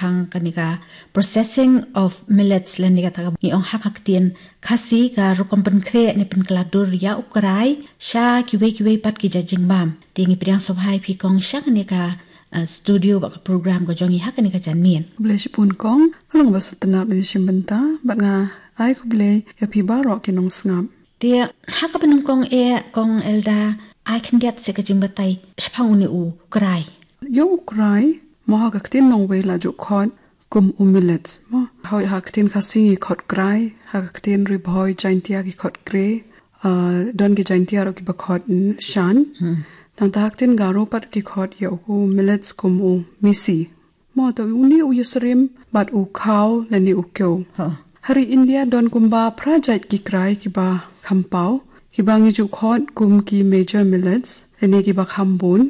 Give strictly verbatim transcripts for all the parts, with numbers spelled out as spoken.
hang kane ka processing of millets lane kata ka ngi ong ha ka ktien Khasi ka rukom pynkhreh ne pynkylla dur ïa u krai sha kiwei kiwei pat ki jait jingbam. Te ngi pdiang sngewbha ïa phi kong sha kane ka, uh, studio bad ka program ka jong ngi ha kane ka janmiet. Khublei shibun kong, ka long ba sngewtynnat ban ïashim bynta bad nga ai khublei ïa phi baroh ki nongsngap. Te ha kaba nyngkong eh kong Elda, ai khyndiat seh ka jingbatai shaphang une u krai. Ïa u krai, mo ha ka ktien nongwei la ju khot kum u millet. Mo ha, ha ka ktien Khasi ngi khot krai, ha ka ktien Ri Bhoi Jaiñtia ki khot kre, uh, don ki Jaiñtia ruh kiba khot, mm, shan. Nangta ha ka ktien Garo pat ki khot ïa u millet kum u misi. Mo te une u ïasyriem bad u khaw lane u kew. Ha ri India don kumba phra jait ki krai kiba kham paw, kiba ngi ju khot kum ki major millets lane kiba kham bun,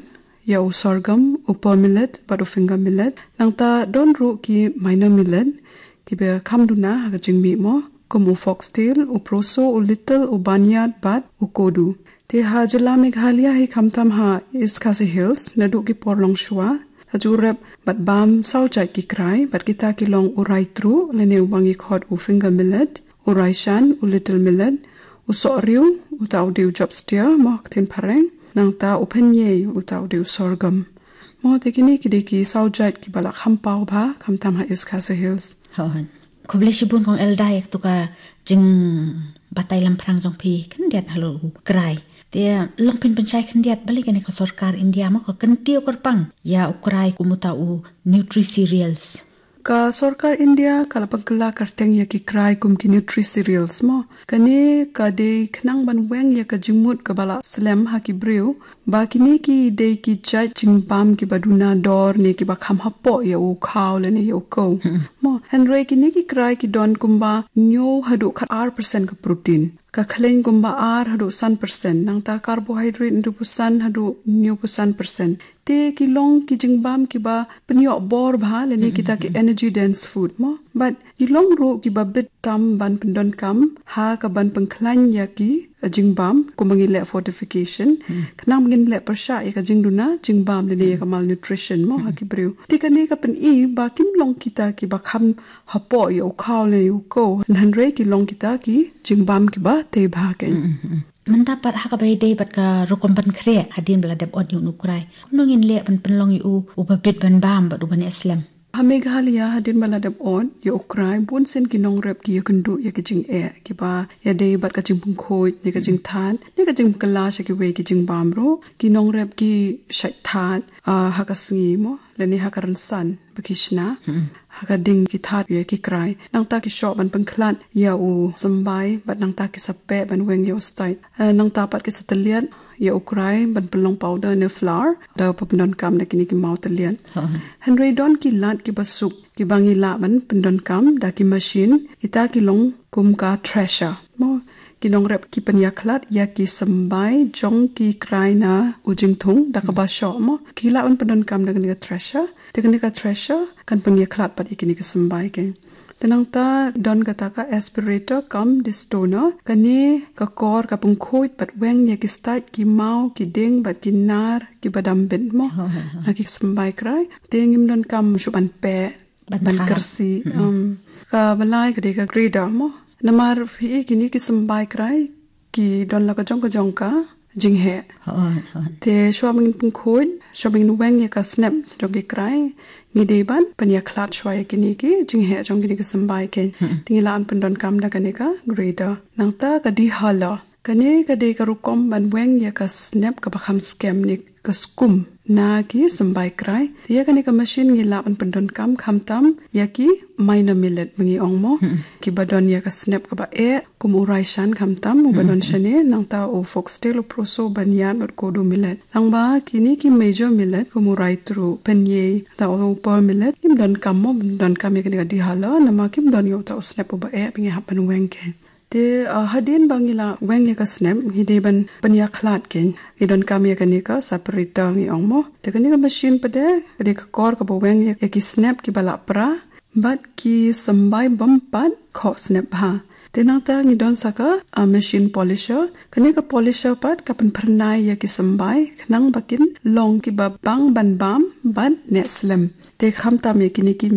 ïa u sorghum, u pearl millet bad u finger millet. Nangta don ruh ki minor millet kiba kham duna ha ka jingmih, mo kum u foxtail, u proso, u lentil, u barnyard bad u kodu. Te ha jylla Meghalaya hi khamtam ha East Khasi Hills naduh ki por longshuwa la ju rep bad bam saw jait ki krai, bad kita ki long u raitruh lane uba ngi khot u finger millet, u raishan, u lentil millet, u sohriw, uta u dei u jobsteer mo ha ka ktien phareng, nangta u pynïei, uta u dei u sorghum. Mo te kine ki dei ki saw jait kiba la kham paw bha khamtam ha East Khasi Hills. Khublei shibun kong Elda ïa katu ka jingbatai lamphrang jong phi khyndiat halor u krai. Te long phin pynshai khyndiat balei kane ka sorkar India mo ka kyntiew kyrpang ïa u krai kum uta u nutri cereals. Ka sorkar India ka la pynkylla kyrteng ïa ki krai kum ki nutri cereals mo. Kane ka dei khnang ban weng ïa ka jingmut kaba la slem ha ki briew ba kine ki dei ki jait jingbam kiba duna dor ne kiba kham hapoh ïa u khaw lane ïa u kew. Mo hynrei kine ki krai ki don kumba hynñiew haduh khatar percent ka protein, ka khleiñ kumba ar haduh san percent, nangta carbohydrate hynriewphew san haduh hynñiewphew san percent. Te ki long ki jingbam kiba pynïoh bor bha lane kita ki energy dense food mo. Bad ki long ruh kiba bit tam ban pyndonkam ha ka ban pynkhlaiñ ïa ki, eh, jingbam kumba ngi leh fortification. Khnang ba ngin leh pyrshah ïa ka jingduna jingbam lane ïa ka malnutrition mo ha ki briew. Te kane ka pyni ba kim long kita kiba kham hapoh ïa u khaw lane ïa u kew, hynrei ki long kita ki jingbam kiba tei bha kein. Mynta pat ha kaba ïadei bad ka rukom pynkhreh hadien ba la dep ot ïa u krai, kumno ngin leh ban pynlong ïa u uba bit ban bam bad uba neh slem? Ha Meghalaya hadien ba la dep ot ïa u krai bun sien ki nongrep ki ïakynduh ïa ki jingeh kiba ïadei bad ka jingpynkhuid ne ka jingthad ne ka jingkylla sha kiwei ki jingbam ruh. Ki nongrep ki shait thad, ah, ha ka sngi mo lane ha ka rynsan ba ki shna. Ha ka ding ki thad ïa ki krai. Nangta ki shoh ban pynkhlad ïa u symbai bad nangta ki sa peh ban weng ïa u stait. Eh, nangta pat ki sa tylliat ïa u krai ban pynlong powder ne flour da ba pyndonkam da kine ki maw tylliat. Hynrei don ki lad kiba suk kiba ngi lah ban pyndonkam da ki machine, kita ki long kum ka thresher. Mo ki nongrep ki pynïakhlad ïa ki symbai jong ki krai na u jingthung da kaba shoh mo. Ki lah ban pyndonkam da kane ka thresher. Te kane ka thresher kan pynïakhlad pat ïa kine ki symbai kein. Te nangta don kata ka aspirator cum destoner, kane ka kor ka pynkhuid bad weng ïa ki stait, ki maw, ki dieng bad ki nar kiba dam bit mo. Na ki symbai krai. Te ngim donkam shuh ban peh, ban kyrsi. Kaba lai ka dei ka grater mo. Namar phi kine ki symbai krai ki don la ka jong ka jong ka jingheh. Te shuwa ba ngin pynkhuid, shuwa ba ngin weng ïa ka snep jong ki krai, ngi dei ban pynïakhlad shuwa ïa kine ki jingheh jong kine ki symbai kein. Te ngi lah ban pyndonkam da kane ka grater. Nangta ka dehuller. Kane ka dei ka rukom ban weng ïa ka snep kaba kham skhem ne ka skum na ki symbai krai. Te ïa kane ka machine ngi lah ban pyndonkam khamtam ïa ki minor millet ba ngi ong mo. Kiba don ïa ka snep kaba eh kum u raishan khamtam uba don shane, nangta u foxtail, u proso, barnyard bad kodu millet. Nangba kine ki major millet kum u raitruh, pynïei, ta u pearl millet, kim donkam mo ban pyndonkam ïa kane ka dehuller namar kim don ïa uta u snep uba eh ba ngi hap ban weng kein. Te, ah, hadien ba ngi la weng ïa ka snep, ngi dei ban pynïakhlad kein. Ngi donkam ïa kane ka separator ngi ong mo. Te kane ka machine pat de ka dei ka kor kaba weng ïa, ïa ki snep kiba la pra bad ki symbai bym pat khoh snep bha. Te nangta ngi don sa ka, ah, machine polisher. Kane ka polisher pat ka pynphyrnai ïa ki symbai khnang ba kin long kiba bang ban bam bad neh slem. Te khamtam ïa kine ki